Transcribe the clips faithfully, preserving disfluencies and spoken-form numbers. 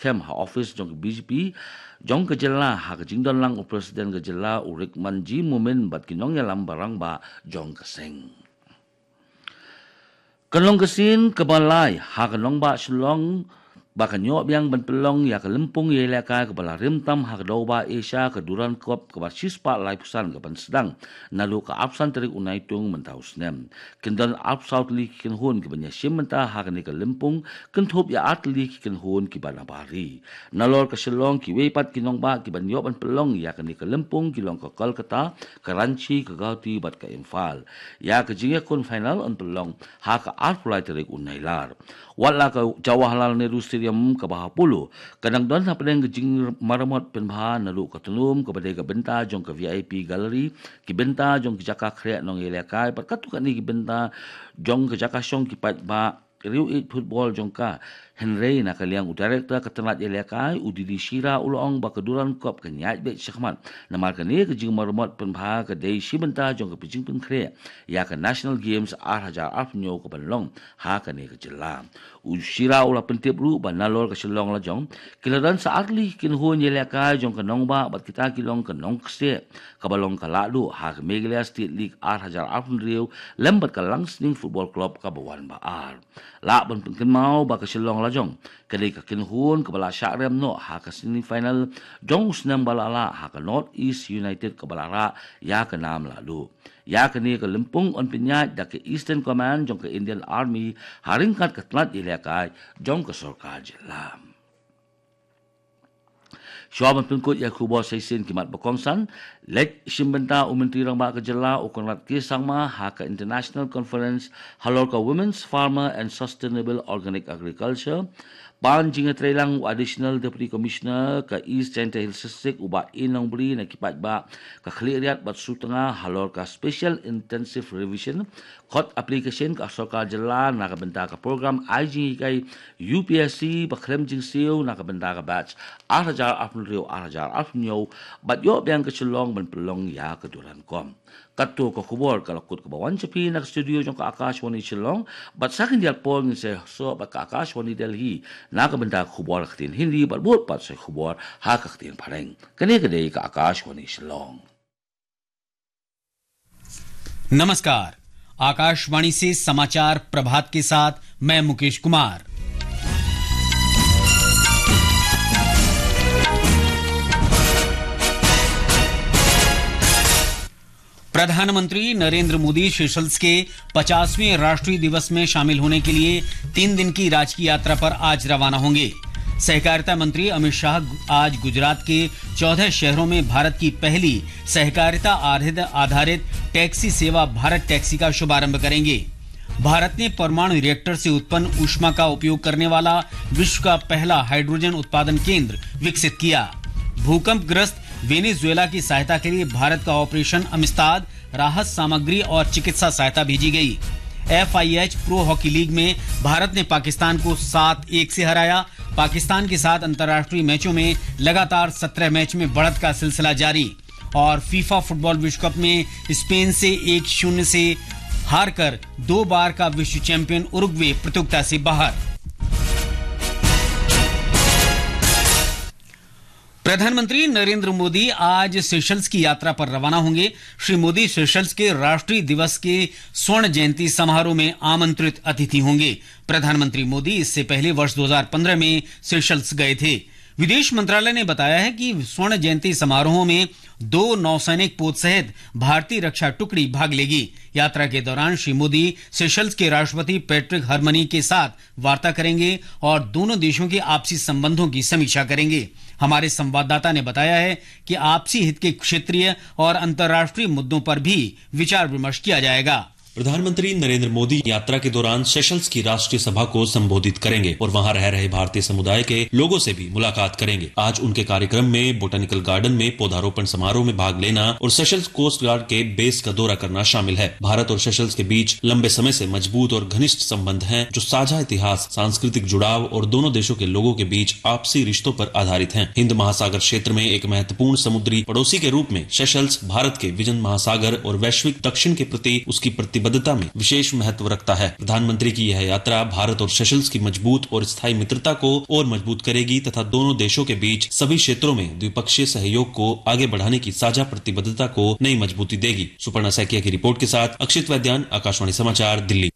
Them ha office jong ka B J P jong ka jylla ha ka jingdon lang u President ka jylla u Rikmanjee Momin bad ki nongïalam ba rangbah jong ka seng. Ka long ka sien kaba lai ha ka nongbah Shillong ba kan ïoh biang ban pynlong ïa ka lympung ïalehkai kaba la rim tam ha ka daw ba Asia, ka Durand Cup, kaba shispah laiphew san kaban sdang naduh ka arphew san tarik u Naitung mynta u snem. Kin don arphew saw tylli ki kynhun kiban ïashim bynta ha kane ka lympung, kynthup ïa ar tylli ki kynhun kiba na bar ri. Nalor ka Shillong, kiwei pat ki nongbah kiban ïoh ban pynlong ïa kane ka lympung ki long ka Kolkata, ka Ranchi, ka Guwahati bad ka Imphal. Ïa ka jingïakhun final yn pynlong ha ka arphew lai tarik u Nailar. Wat la ka Jawaharlal Nehru Stadium kaba ha Polo ka dang don hapdeng ka jingmaramot pynbha naduh ka tnum kaba dei ka bynta jong ka V I P gallery, ki bynta jong ki jaka khreh nongïalehkai bad katto katne ki bynta jong ka jaka shong ki paidbah riewieid football jong ka. Hynrei na ka liang u director ka tnat ïalehkai u D D Shira u la ong ba ka Durand Cup kan ïaid beit shakhmat, namar kane ka jingmaramot pynbha ka dei shi bynta jong ka jingpynkhreh ïa ka National Games ar hajar arphew hynñiew kaban long ha kane ka jylla. U Shira u la pyntip ruh ba nalor ka Shillong lajong ki la don sa ar tylli ki kynhun ïalehkai jong ka nongbah bad kita ki long ka nongkseh kaba long ka Lahduh ha ka Meghalaya State League ar hajar arphew hynriew lem bad ka Langsning Football Club kaba wan ba ar. Lah ban pynkynmaw ba ka Shillong lajong ka dei ka kynhun kaba la shah rem noh ha ka semi final jong u snem ba la lah ha ka North East United kaba la rah ïa ka nam Lahduh. Ïa kane ka lympung yn pynïaid da ka Eastern Command jong ka Indian Army ha ryngkat ka tnat ïalehkai jong ka sorkar jylla. Shuwa ban pynkut ïa ka khubor sa shisien ki mat ba kongsan, leit shim bynta u Myntri Rangbah ka jylla u Conrad K Sangma ha ka International Conference halor ka Women's Farmer and Sustainable Organic Agriculture. Pan jingïatreilang u Additional Deputy Commissioner ka East Jaintia Hills District u Bah A Nongbri na ki paidbah ka Khliehriat bad Sutnga halor ka Special Intensive Revision Khot application ka sorkar jylla na ka bynta ka program ai jinghikai U P S C ba khlem jingsiew na ka bynta ka batch ar hajar arphew hynriew ar hajar arphew hynñiew bad ïoh biang ka Shillong ban pynlong ïa ka Durand Cup. Katto ka khubor ka la kut kaba wan sha phi na ka studio jong ka Akashvani Shillong, bad sa khyndiat por ngin sa ïasoh bad ka Akashvani Delhi na ka bynta ka khubor ka ktien Hindi bad bud pat sa khubor ha ka ktien Phareng. Kane ka dei ka Akashvani Shillong. नमस्कार। आकाशवाणी से समाचार प्रभात के साथ मैं मुकेश कुमार। प्रधानमंत्री नरेंद्र मोदी सेशल्स के पचासवें राष्ट्रीय दिवस में शामिल होने के लिए तीन दिन की राजकीय यात्रा पर आज रवाना होंगे। सहकारिता मंत्री अमित शाह आज गुजरात के चौदह शहरों में भारत की पहली सहकारिता आधारित, आधारित टैक्सी सेवा भारत टैक्सी का शुभारंभ करेंगे। भारत ने परमाणु रिएक्टर से उत्पन्न ऊष्मा का उपयोग करने वाला विश्व का पहला हाइड्रोजन उत्पादन केंद्र विकसित किया। भूकंपग्रस्त वेनेजुएला की सहायता के लिए भारत का ऑपरेशन अमिस्ताद, राहत सामग्री और चिकित्सा सहायता भेजी गई। एफआईएच प्रो हॉकी लीग में भारत ने पाकिस्तान को सात एक से हराया। पाकिस्तान के साथ अंतर्राष्ट्रीय मैचों में लगातार सत्रह मैच में बढ़त का सिलसिला जारी। और फीफा फुटबॉल विश्व कप में स्पेन से एक शून्य से हारकर दो बार का विश्व चैंपियन उरुग्वे प्रतियोगिता से बाहर। प्रधानमंत्री नरेंद्र मोदी आज सेशल्स की यात्रा पर रवाना होंगे। श्री मोदी सेशल्स के राष्ट्रीय दिवस के स्वर्ण जयंती समारोह में आमंत्रित अतिथि होंगे। प्रधानमंत्री मोदी इससे पहले वर्ष दो हज़ार पन्द्रह में सेशल्स गए थे। विदेश मंत्रालय ने बताया है कि स्वर्ण जयंती समारोह में दो नौसैनिक पोत सहित भारतीय रक्षा टुकड़ी भाग लेगी। यात्रा के दौरान श्री मोदी सेशल्स के राष्ट्रपति पैट्रिक हरमनी के साथ वार्ता करेंगे और दोनों देशों के आपसी संबंधों की समीक्षा करेंगे। हमारे संवाददाता ने बताया है कि आपसी हित के क्षेत्रीय और अंतर्राष्ट्रीय मुद्दों पर भी विचार विमर्श किया जाएगा। प्रधानमंत्री नरेंद्र मोदी यात्रा के दौरान सेशल्स की राष्ट्रीय सभा को संबोधित करेंगे और वहां रह रहे भारतीय समुदाय के लोगों से भी मुलाकात करेंगे। आज उनके कार्यक्रम में बोटेनिकल गार्डन में पौधारोपण समारोह में भाग लेना और सेशल्स कोस्ट गार्ड के बेस का दौरा करना शामिल है। भारत और सेशल्स के बीच लंबे समय से मजबूत और घनिष्ठ संबंध हैं, जो साझा इतिहास, सांस्कृतिक जुड़ाव और दोनों देशों के लोगों के बीच आपसी रिश्तों पर आधारित हैं। हिंद महासागर क्षेत्र में एक महत्वपूर्ण समुद्री पड़ोसी के रूप में सेशल्स भारत के विजन महासागर और वैश्विक दक्षिण के प्रति उसकी प्रतिबद्धता में विशेष महत्व रखता है। प्रधानमंत्री की यह यात्रा भारत और सेशल्स की मजबूत और स्थायी मित्रता को और मजबूत करेगी तथा दोनों देशों के बीच सभी क्षेत्रों में द्विपक्षीय सहयोग को आगे बढ़ाने की साझा प्रतिबद्धता को नई मजबूती देगी। सुपर्णा सैकिया की रिपोर्ट के साथ अक्षित वैद्यान, आकाशवाणी समाचार, दिल्ली।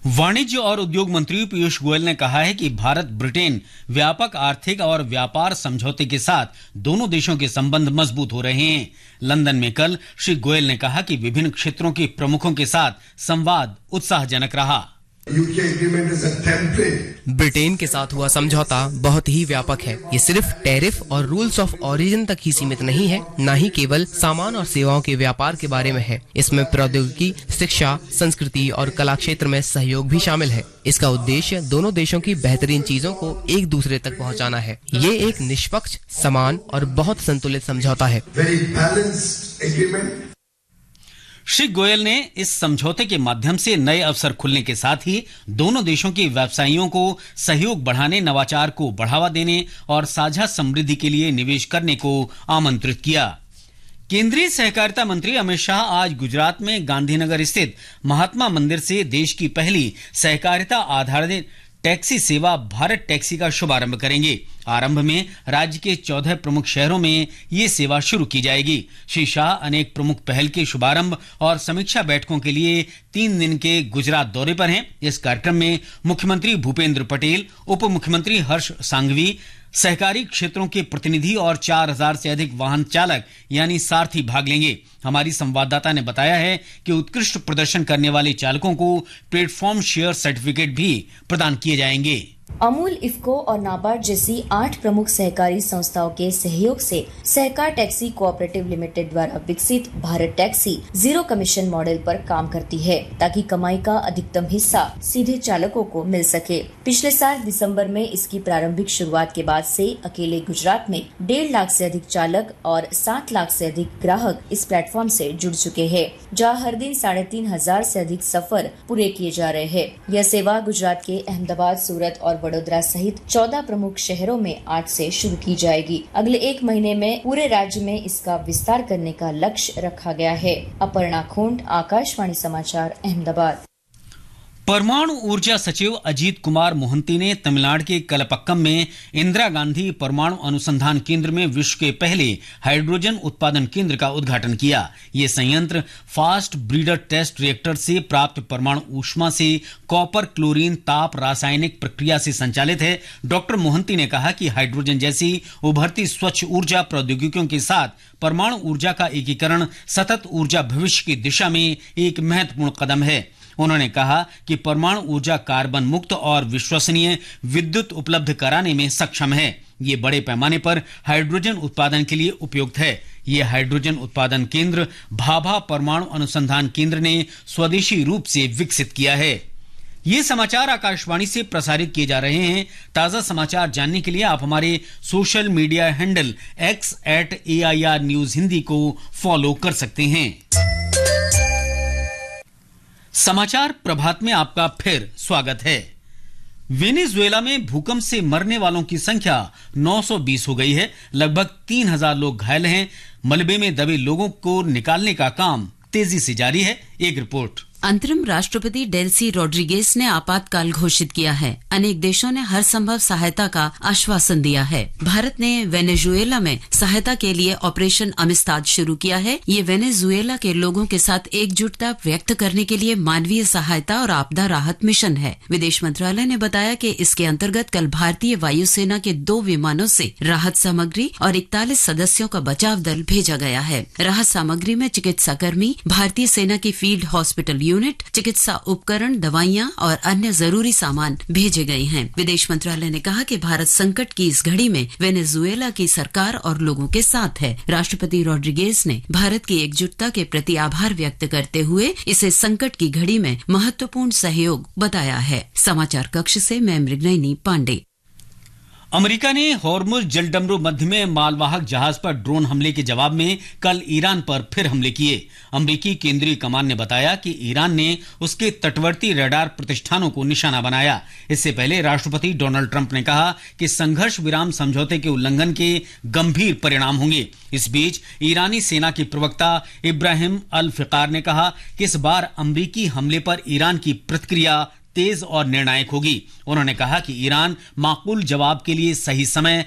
वाणिज्य और उद्योग मंत्री पीयूष गोयल ने कहा है कि भारत ब्रिटेन व्यापक आर्थिक और व्यापार समझौते के साथ दोनों देशों के संबंध मजबूत हो रहे हैं। लंदन में कल श्री गोयल ने कहा कि विभिन्न क्षेत्रों के प्रमुखों के साथ संवाद उत्साहजनक रहा। ब्रिटेन के साथ हुआ समझौता बहुत ही व्यापक है। ये सिर्फ टैरिफ और रूल्स ऑफ ओरिजिन तक ही सीमित नहीं है, ना ही केवल सामान और सेवाओं के व्यापार के बारे में है। इसमें प्रौद्योगिकी, शिक्षा, संस्कृति और कला क्षेत्र में सहयोग भी शामिल है। इसका उद्देश्य दोनों देशों की बेहतरीन चीजों को एक दूसरे तक पहुंचाना है। ये एक निष्पक्ष, समान और बहुत संतुलित समझौता है। श्री गोयल ने इस समझौते के माध्यम से नए अवसर खुलने के साथ ही दोनों देशों के व्यवसायियों को सहयोग बढ़ाने, नवाचार को बढ़ावा देने और साझा समृद्धि के लिए निवेश करने को आमंत्रित किया। केंद्रीय सहकारिता मंत्री अमित शाह आज गुजरात में गांधीनगर स्थित महात्मा मंदिर से देश की पहली सहकारिता आधारित टैक्सी सेवा भारत टैक्सी का शुभारंभ करेंगे। आरंभ में राज्य के चौदह प्रमुख शहरों में ये सेवा शुरू की जाएगी। श्री शाह अनेक प्रमुख पहल के शुभारंभ और समीक्षा बैठकों के लिए तीन दिन के गुजरात दौरे पर हैं। इस कार्यक्रम में मुख्यमंत्री भूपेंद्र पटेल, उप मुख्यमंत्री हर्ष सांघवी, सहकारी क्षेत्रों के प्रतिनिधि और चार हज़ार से अधिक वाहन चालक यानी सारथी भाग लेंगे। हमारी संवाददाता ने बताया है कि उत्कृष्ट प्रदर्शन करने वाले चालकों को प्लेटफॉर्म शेयर सर्टिफिकेट भी प्रदान किए जाएंगे। अमूल, इफ्को और नाबार्ड जैसी आठ प्रमुख सहकारी संस्थाओं के सहयोग से सहकार टैक्सी कोऑपरेटिव लिमिटेड द्वारा विकसित Bharat taxi zero commission model पर काम करती है, ताकि कमाई का अधिकतम हिस्सा सीधे चालकों को मिल सके। पिछले साल दिसंबर में इसकी प्रारंभिक शुरुआत के बाद से अकेले गुजरात में डेढ़ लाख से अधिक चालक और सात लाख से अधिक ग्राहक इस प्लेटफॉर्म से जुड़ चुके हैं, जहां हर दिन साढ़े तीन हजार से अधिक सफर पूरे किए जा रहे हैं। यह सेवा गुजरात के अहमदाबाद, सूरत और वडोदरा सहित चौदह प्रमुख शहरों में आज से शुरू की जाएगी। अगले एक महीने में पूरे राज्य में इसका विस्तार करने का लक्ष्य रखा गया है। अपर्णा खोंड, आकाशवाणी समाचार, अहमदाबाद। परमाणु ऊर्जा सचिव अजीत कुमार मोहंती ने तमिलनाडु के कलपक्कम में इंदिरा गांधी परमाणु अनुसंधान केंद्र में विश्व के पहले हाइड्रोजन उत्पादन केंद्र का उद्घाटन किया। ये संयंत्र फास्ट ब्रीडर टेस्ट रिएक्टर से प्राप्त परमाणु ऊष्मा से कॉपर क्लोरीन ताप रासायनिक प्रक्रिया से संचालित है। डॉक्टर मोहंती ने कहा कि हाइड्रोजन जैसी उभरती स्वच्छ ऊर्जा प्रौद्योगिकियों के साथ परमाणु ऊर्जा का एकीकरण सतत ऊर्जा भविष्य की दिशा में एक महत्वपूर्ण कदम है। उन्होंने कहा कि परमाणु ऊर्जा कार्बन मुक्त और विश्वसनीय विद्युत उपलब्ध कराने में सक्षम है। ये बड़े पैमाने पर हाइड्रोजन उत्पादन के लिए उपयुक्त है। ये हाइड्रोजन उत्पादन केंद्र भाभा परमाणु अनुसंधान केंद्र ने स्वदेशी रूप से विकसित किया है। ये समाचार आकाशवाणी से प्रसारित किए जा रहे हैं। ताजा समाचार जानने के लिए आप हमारे social media handle X at A I R news Hindi को फॉलो कर सकते हैं। समाचार प्रभात में आपका फिर स्वागत है। वेनेजुएला में भूकंप से मरने वालों की संख्या नौ सौ बीस हो गई है। लगभग तीन हज़ार लोग घायल हैं। मलबे में दबे लोगों को निकालने का काम तेजी से जारी है। एक रिपोर्ट। अंतरिम राष्ट्रपति डेल्सी रोड्रिगेज ने आपातकाल घोषित किया है। अनेक देशों ने हर संभव सहायता का आश्वासन दिया है। भारत ने वेनेजुएला में सहायता के लिए ऑपरेशन अमिस्ताद शुरू किया है। ये वेनेजुएला के लोगों के साथ एकजुटता व्यक्त करने के लिए मानवीय सहायता और आपदा राहत मिशन है। विदेश मंत्रालय ने बताया कि इसके अंतर्गत कल भारतीय वायुसेना के दो विमानों से राहत सामग्री और इकतालीस सदस्यों का बचाव दल भेजा गया है। राहत सामग्री में चिकित्सा कर्मी, भारतीय सेना की फील्ड हॉस्पिटल यूनिट, चिकित्सा उपकरण, दवाइयां और अन्य जरूरी सामान भेजे गए हैं। विदेश मंत्रालय ने कहा कि भारत संकट की इस घड़ी में वेनेजुएला की सरकार और लोगों के साथ है। राष्ट्रपति रोड्रिगेज ने भारत की एकजुटता के प्रति आभार व्यक्त करते हुए इसे संकट की घड़ी में महत्वपूर्ण सहयोग बताया है। समाचार कक्ष से मैं मृगनयनी पांडे। अमेरिका ने हॉर्मुज जलडमरू मध्य में मालवाहक जहाज पर ड्रोन हमले के जवाब में कल ईरान पर फिर हमले किए। अमेरिकी केंद्रीय कमान ने बताया कि ईरान ने उसके तटवर्ती रडार प्रतिष्ठानों को निशाना बनाया। इससे पहले राष्ट्रपति डोनाल्ड ट्रंप ने कहा कि संघर्ष विराम समझौते के उल्लंघन के गंभीर परिणाम होंगे। इस बीच ईरानी सेना के प्रवक्ता इब्राहिम अल फिकार ने कहा कि इस बार अमेरिकी हमले पर ईरान की प्रतिक्रिया तेज और निर्णायक होगी। उन्होंने कहा कि ईरान माकूल जवाब के लिए सही समय